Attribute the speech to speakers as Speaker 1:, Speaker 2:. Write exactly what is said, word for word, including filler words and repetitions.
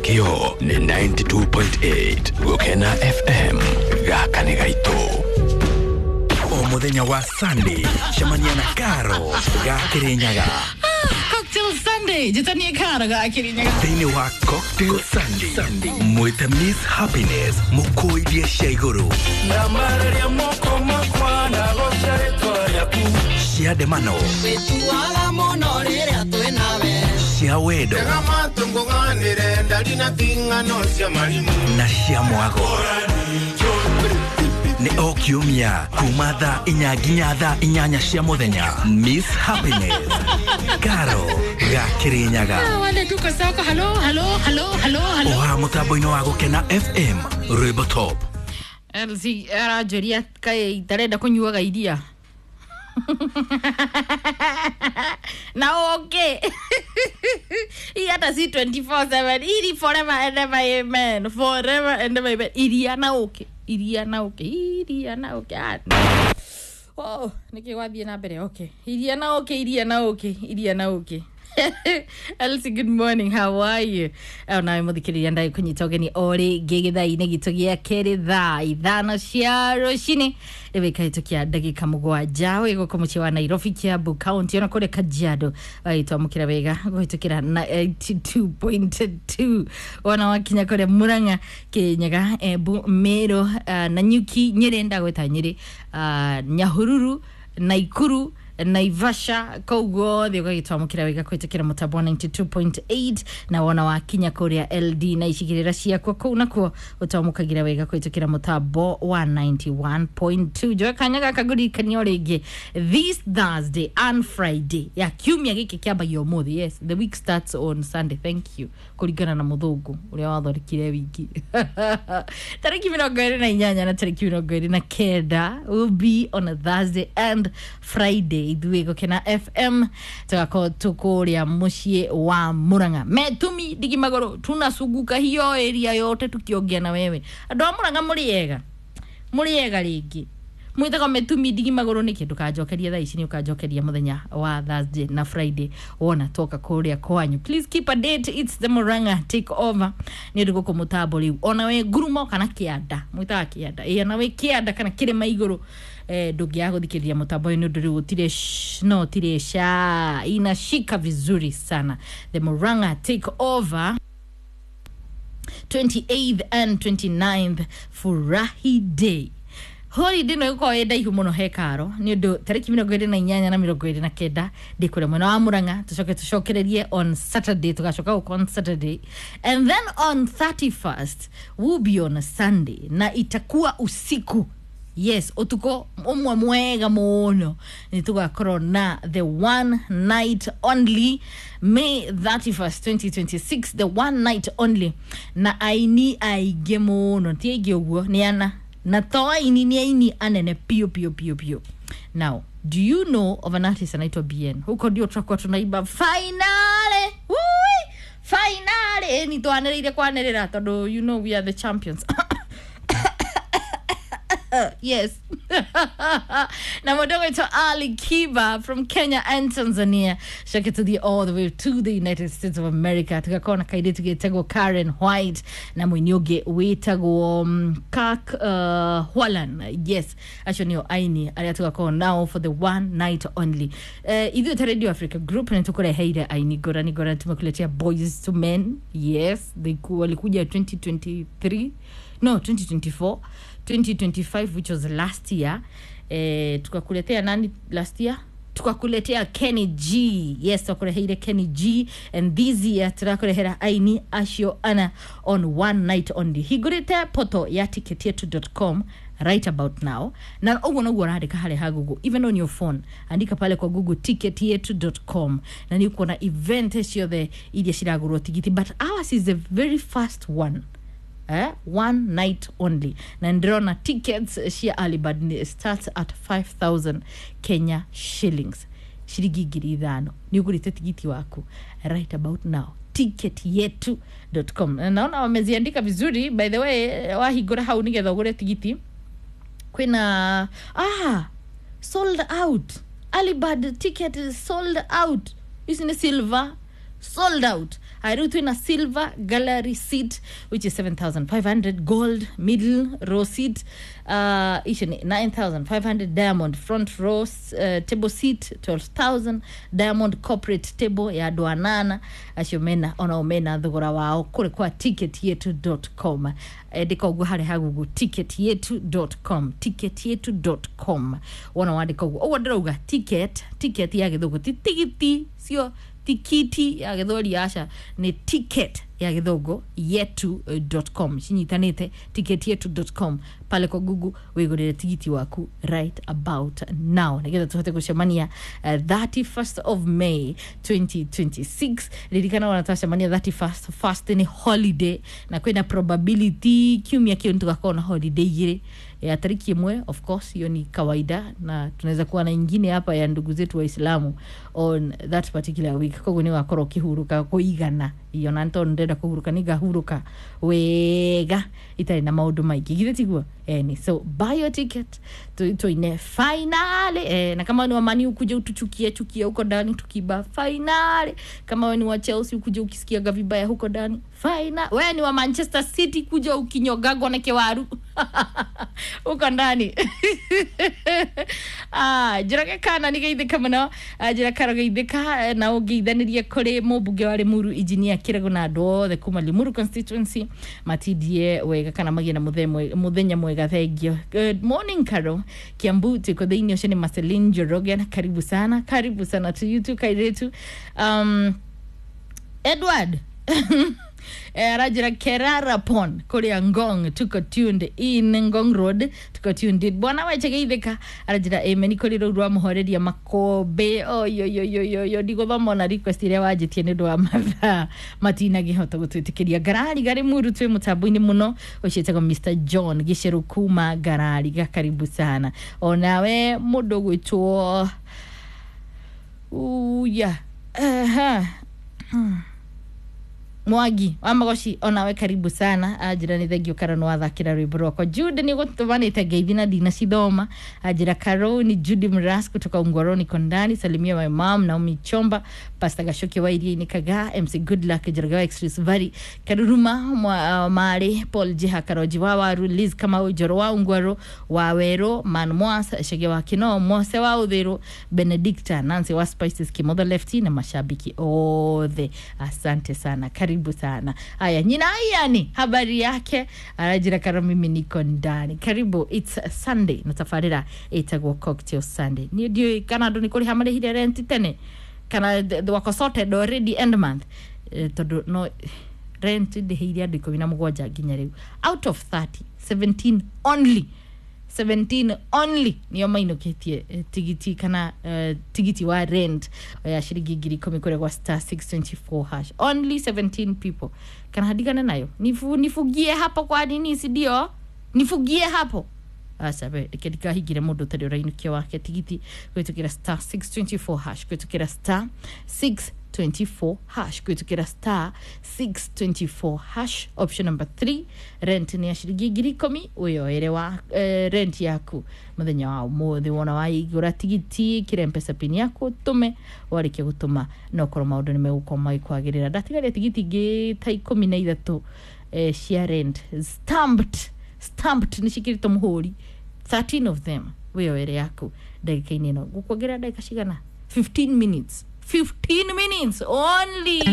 Speaker 1: Kĩo nĩ ninety-two point eight Gũkena F M. Gaka nĩ gaitũ.
Speaker 2: O mũthenya wa Sunday, cemania na Karo ga Kĩrĩnyaga.
Speaker 3: Cocktail Sunday, njĩtanie Karo ga Kĩrĩnyaga.
Speaker 2: Thĩinĩ wa Cocktail Sunday, mwĩte Miss Happiness, mũkũithie cia igũrũ cia ndemano,
Speaker 4: Wĩtuaga mũno rĩrĩa twĩ nawe.
Speaker 2: Cia wendo
Speaker 5: Tũngũng'anĩre ndari na ting'ano cia marimũ.
Speaker 2: Na cia mwago. Nĩ o kiumia kuma thaa inya nginya thaa inyanya cia mũthenya. Miss Happiness, Karo ga Kĩrĩnyaga.
Speaker 3: Ah, wale tuko soko. Halo, halo, halo, halo, halo.
Speaker 2: Oha mũtambo-inĩ wa Gũkena F M, rwĩmbo top.
Speaker 3: L C aranjũria kaĩ itarenda kũnyuaga iria na okay, hii hata si twenty-four seven, ili forever and ever amen, forever and ever amen. Iria na okay, iria na okay, iria na okay. Ah, oh, nĩkĩ gwathiĩ na mbere? Okay, iria na okay, iria na okay, iria na okay. Elsie, good morning. How are you? Oh, nawe mũthikĩrĩria, ndagĩ kũnyita ũgeni o rĩngĩ gĩthaa-inĩ gitũ gĩa kerĩ, thaa ithano cia rũcinĩ rĩu ĩkahĩtũkia ndagĩka mũgwanja, wĩ gũkũ mũciĩ wa Nairobi, Kiambu County, ona kũrĩa Kajiado wagĩtwamũkĩra wega kũhĩtũkĩra na eighty-two point two, wona wakinya kũrĩa Murang'a, Kĩrĩnyaga, Embu, Meru, uh, Nanyuki, Nyĩrĩ, ndagwĩta Nyĩrĩ, uh, Nyahururu, Naikuru, Naivasha, kũu guothe ũgagĩtwamũkĩra wega kũhĩtũkĩra mũtambo wa ninety-two point eight, na wona wakinya kũrĩa L D na icigĩrĩra ciakwo kũu nakuo ũtwamũkagĩra wega kũhĩtũkĩra mũtambo wa ninety-one point two. Njoe kanya gaka ngũririkania o rĩngĩ, this Thursday and Friday ya kiumia gĩkĩ kĩambagia ũmũthĩ. Yes, the week starts on Sunday, thank you, kũringana na mũthũngũ ũrĩa wathondekire wiki. Tarĩki mĩrongo ĩrĩ na inyanya na tarĩki mĩrongo ĩrĩ na kenda will be on a Thursday and Friday. Ithuĩ Gũkena F M tũgakorwo tũkũrĩa mũciĩ wa Murang'a, metumi ndigi magũrũ, tunazunguka hiyo area yote tukiongea na wewe. Andũ a Murang'a, mũrĩ ega? Mũrĩ ega rĩngĩ? Mwĩtagwo metumi ndigi magũrũ nĩkĩ? Ndũkanjokeria thaa ici, nĩ ũkanjokeria mũthenya wa Thursday na Friday wona toka kũrĩa kwanyu. Please keep a date, it's the Murang'a take over. Nĩ ũndũ gũkũ mũtambo rĩu ona we ngurumo kana kĩanda, mwĩtaga kĩanda, ĩ ona we kĩanda kana kĩrĩma igũrũ, eh, ndũngĩaga gũthikĩrĩria mũtambo ũyũ nĩ ũndũ rĩu gũtirĩ sh- no tirĩ sha, inashika vizuri sana. The Murang'a take over, twenty-eighth and twenty-ninth, Furahi Day. Holiday no ĩgũkorwo ĩ ndaihu mũno he karo nĩ ũndũ tarĩki mĩrongo ĩrĩ na inyanya na mĩrongo ĩrĩ na kenda ndĩ kũrĩa mwena wa Mũrang'a. Tũcoke tũcokererie on Saturday, tũgacoka gũkũ on Saturday, and then on thirty-first will be on a Sunday na itakuwa usiku. Yes, utuko umwe mwega muno nĩ tũgakorwo na the one night only, May thirty-first twenty twenty-six, the one night only, na aini aingĩ mũno, ti aingĩ ũguo, nĩ ana, na to aini, nĩ aini anene piũ piũ piũ piũ. Now, do you know of an artist anaitwa B N? Huko ndio tutakuwa tunaimba finale. Wui! Finale ni twanĩrĩire kwanĩrĩra tondũ you know we are the champions. Yes, na mũndũ ũgwĩtwo Ali Kiba from Kenya and Tanzania, coke tũthiĩ all the way to the United States of America, tugakorwo na kairĩtu gĩtagwo Karen White na mũini ũngĩ wĩtagwo um, Kirk uh, Whalum. Yes, acio nĩo aini arĩa tugakorwo nao for the one night only. uh, ithuĩ ta Radio Africa Group nĩ tũkũreheire aini ngũrani ngũrani. Tumekuletea Boys to Men. Yes, they ku- walikuja twenty twenty-three, no, twenty twenty-four, twenty twenty-five, which was last year. Eh, tukakuletea nani last year? Tukakuletea Kenny G. Yes, twakureheire Kenny G, and this year turakurehera aini acio ana on one night only. Hingũrĩte poto ya ticketyetu dot com right about now, na ũguo noguo ũrandĩka harĩa ha Google, even on your phone, andika pale kwa Google ticketyetu dot com na nĩ ũkuona event ciothe iria ciragũrwo tigiti, but ours is the very first one, eh? One night only, na ndĩrona tickets cia early bird ni starts at five thousand Kenya shillings, ciringi ngiri ithano. Nĩ ũgũrĩte tigiti waku right about now, ticket yetu dot com. Na naona wameziandika vizuri, by the way. Wahingũra hau nĩgetha ũgũre tigiti, kwĩna, ah, sold out. Early bird ticket is sold out. Ici nĩ silver, sold out. Haya, twina silver gallery seat which is seven thousand five hundred, gold middle row seat uh, icio ni nine thousand five hundred, diamond front row uh, table seat twelve thousand, diamond corporate table ya andũ anana acio mena onao mena thogora wao kũrĩ kwa ticket yetu dot com. Andĩka ũguo harĩ ha Google, ticket yetu dot com, ticket yetu dot com, wona wandĩka ũguo ũguo ndĩrauga ticket, ticket ya gĩthũngũ ti tigiti cio tikiti ya gĩthweri aca nĩ ticket ya gĩthũngũ yetu dot com, cinyitanĩte ticket yetu dot com pale kwa Google wĩgũrĩre tigiti waku right about now nĩgetha tũhote gũcemania uh, thirty-first of May twenty twenty-six. Ririkana ona twacemania thirty-first first nĩ holiday na kwĩna probability kiumia kĩu nĩtũgakorwo na holiday igĩrĩ ya tariki ĩmwe, of course hiyo ni kawaida, na tunaweza kuwa na ingine hapa ya ndugu zetu Waislamu on that particular week. Koguo nĩ wakorwo ũkĩhurũka kũigana iyo na nĩ ndĩrenda kũhurũka nĩ ngahurũka wega itarĩ na maũndũ maingĩ, githĩ tiguo? Eni, so buy your ticket tuine finale eh, na kama ni wa Man U ukuje utuchukie chukie huko ndani tukiba finale. Kama wewe ni wa Chelsea ukuje ukisikiaga vibaya huko ndani final. Wewe ni wa Manchester City kuja ukinyogagwa na kewaru huko ndani. Ah, njorage kana nĩ geithĩka mũno, njĩra karo geithĩka na ũngeithanirie kũrĩ mũmbunge wa Limuru Engineer Kĩrego na andũ othe kuma Limuru constituency matindie wega kana magĩe na mũthenya mwega. Thank you. Good morning Karo Kiambu, tuko thĩinĩ ũcio nĩ Marceline Njoroge, karibu sana, karibu sana to you too kairetu. Um, Edward aranjĩra Kerara Pond kũrĩa Ngong, tuko tuned in Ngong Road, tuko tuned in. Bwana weche geithĩka aranjĩra amen kũrĩ rũu rwa mũhoreria makombe oyoyoyoyo ndigũthoma ona request ĩrĩa wanjĩtie nĩ ũndũ wa mathaa matinagĩhota gũtwĩtĩkĩria. Ngarari garĩ muru twĩ mũtambo-inĩ mũno ũcio ĩtagwo Mister John Gĩcerũ kuma Ngarari, karibu sana onawe mũndũ ũgwĩtwo uya aha hmm. Mwangi wa Magoci onawe karibu sana anjira ni thengio Karo nĩ wathakĩra rwĩmbo rwakwa. Jude nĩ gũtũmanĩte ngeithi na ndinacithoma anjira Karo ni Judy Mras kutoka Ungwaroni Kondani, salimia my mom Naomi Chomba, Pastor Gashoki wa Iria-inĩ Kagaa, M C Goodluck Njoroge wa Express Valley, Karuruma mwa, uh, Mari Paul Jiha Karoji wa Waru, Liz Kamau Njoro wa Ungwaro wa Wero, Man Mwas Shege wa Kino, Mose wa Uthiru, Benedicta Nancy wa Spices Kimotho Lefty na mashabiki othe, asante sana, karibu sana. Haya, nyina yani habari yake arajira Karo mimi niko ndani. Karibu, it's Sunday na tabarĩra ĩtagwo Cocktail Sunday. Ni ndiũĩ kana andũ nĩ kũrĩha marĩhire rent tene kana wako sorted already end month e, tondũ no rent ndĩhĩire andũ ikũmi na mũgwanja nginya rĩu out of thirty, seventeen only seventeen only nĩo mainũkĩtie tigiti kana uh, tigiti wa rent ya ciringi ngiri ikũmi kũrĩa gwa star six twenty-four hash, only seventeen people. Kana hadigane nayo nifu, nifugie hapo kwa nini si ndio nifugie hapo aca be reke ndikahingire mũndũ ũtarĩ ũrainũkia wake tigiti kũhĩtũkĩra star six twenty-four hash, kũhĩtũkĩra star six twenty-four hash, kũhĩtũkĩra star six twenty-four hash option number three. Rent nĩ ya ciringi ngiri ikũmi wĩyoere wa eh, rent yaku mũthenya wa ũmũthĩ. Wona waigũra tigiti kĩra mpesa pin yaku ũtũme, warĩkia gũtũma no korwo maũndũ nĩ megũkorwo magĩkwagĩrĩra. Ndatigaria tigiti ingĩ ta ikũmi na ithatũ eh, cia rent stamped, stamped nĩ ciĩkĩrĩtwo mũhũri thirteen of them wĩyoere yaku ndagĩka-inĩ ĩno. Ngũkuongerera ndagĩka cigana? fifteen minutes, fifteen minutes only.